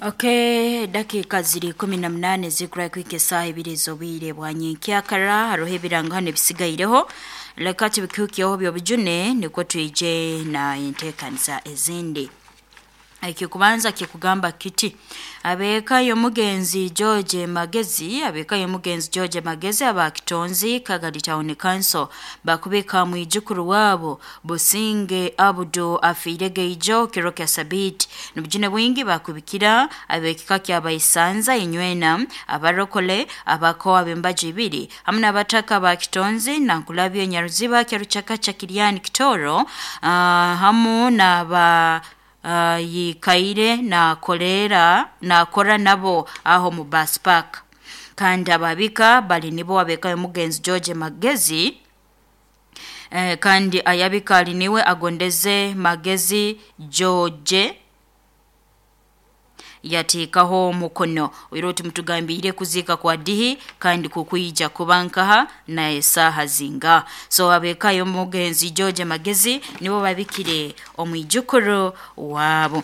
Okay, dakika ziri 18 zikura kwika esaha ibiri z'obwire bwa nyenkyakara. Haroho ebirango hano ebisigaireho, leka tubikuhikyeho byobujune nikwo twije na enteekaniza ezindi. Ekikubanza kikugamba kiti: abeeka y'omugenzi George Magezi, abeeka y'omugenzi George Magezi aba Kitonzi Kagadi Town Council bakubika mwijukuru wabo Businge Abdu afiire geijo kiro kya Sabiti. Nobujune bwingi bakubikira abekika kyabaisanza inywena, abarokole, abakoa b'embaju ibiri hamwe n'abataka ba Kitonzi, Nankulabye, Nyaruziba, Kyaruchakacha, Kiryani, Kitoro, hamu n'aba yikaire nakolera nakora nabo aho mu bus park. Kandi ababika bali nibo abeka omugenzi George Magezi, kandi ayabika ali niwe agondeze Magezi George yatikaho omukono. Oiro timutugambire kuziika kwa dihi kandi kukwija kuba nkaha na esaha zinga. So abekayo omugenzi George Magezi nibo babikire omwijukuru wabo.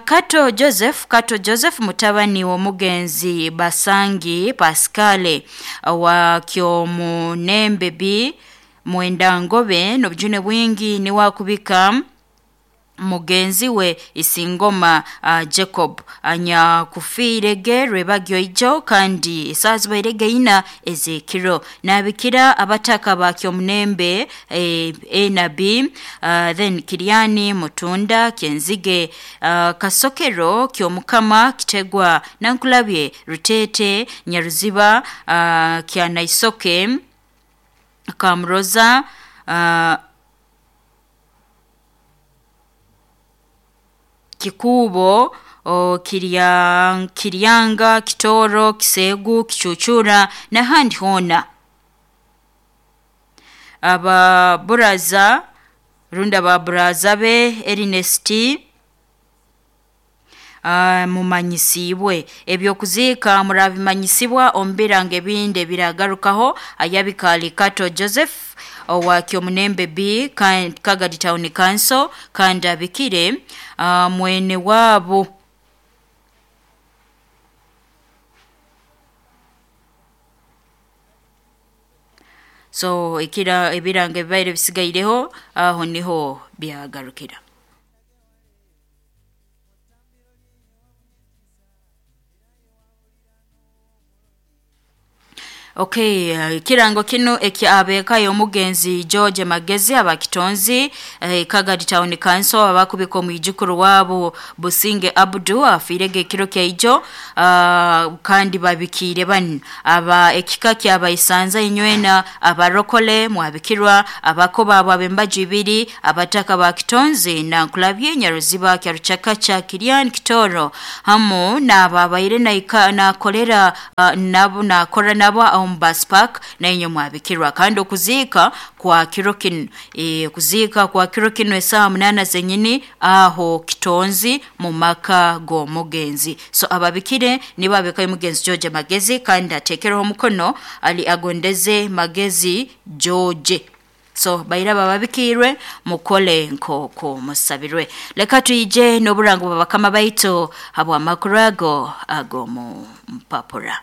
Kato Joseph, Kato Joseph mutabani w'omugenzi Basangi Pascale wa Kyomunembe B Mwendangobe, n'obujune bwingi niwakubika mugenzi we Isingoma Jacob anyakufiirege rwebagyo ijo kandi esaha zibairege ina ezekiro. Nabikira abataka ba Kyomunembe A na B, then Kiriani, Mutunda, Kenzige, Kasokero, Kyomukama, Kitegwa, Nankulabye, Rutete, Nyaruziba, Kyanaisoke, Kamroza, Kikubo, Kiryanga, Kitoro, Kisegu, Kichuchura n'ahandi hoona. Ababuraza rundi ababuraza be Ernest mumanyisibwe ebyokuziika murabimanyisibwa omu birango ebindi ebiragarukaho. Ayabikaali Kato Joseph owa Kyomunembe B Kagadi Town Council kandi abikire mwene waabo. So ekira ebirango ebibaire bisigaireho aho niho byagarukira. Okay, ekirango kino ekya y'omugenzi George Magezi abakitonzi Kagadi Town Council abakubika omwijukuru wabo Businge Abdu afiirege ekiro kyaijo, kandi babikiire banu aba ekika kyabaisanza inywena, abarokole mwabikirwa, abakoba abo ab'embaju ibiri, abataka ba Kitonzi, Nankulabye, Nyaruziba, Kyaruchakacha, Kiriani, Kitoro hamu n'ababaire nakolera nabo nakora nabo omu bus park nainye mwabikirwa. Kandi okuziika kwa kiro kino, kuziika kwa kiro kino esaha 8 zenyini aho Kitonzi mu maka g'omugenzi. So ababikire nibo abekayo omugenzi George Magezi kandi atekereho omukono ali agondeze Magezi George. So baira bababikirwe mukole nkoko musabirwe. Leka tuyije n'oburango bw'abakama baitu habw'amakuru ago agomu mpapura.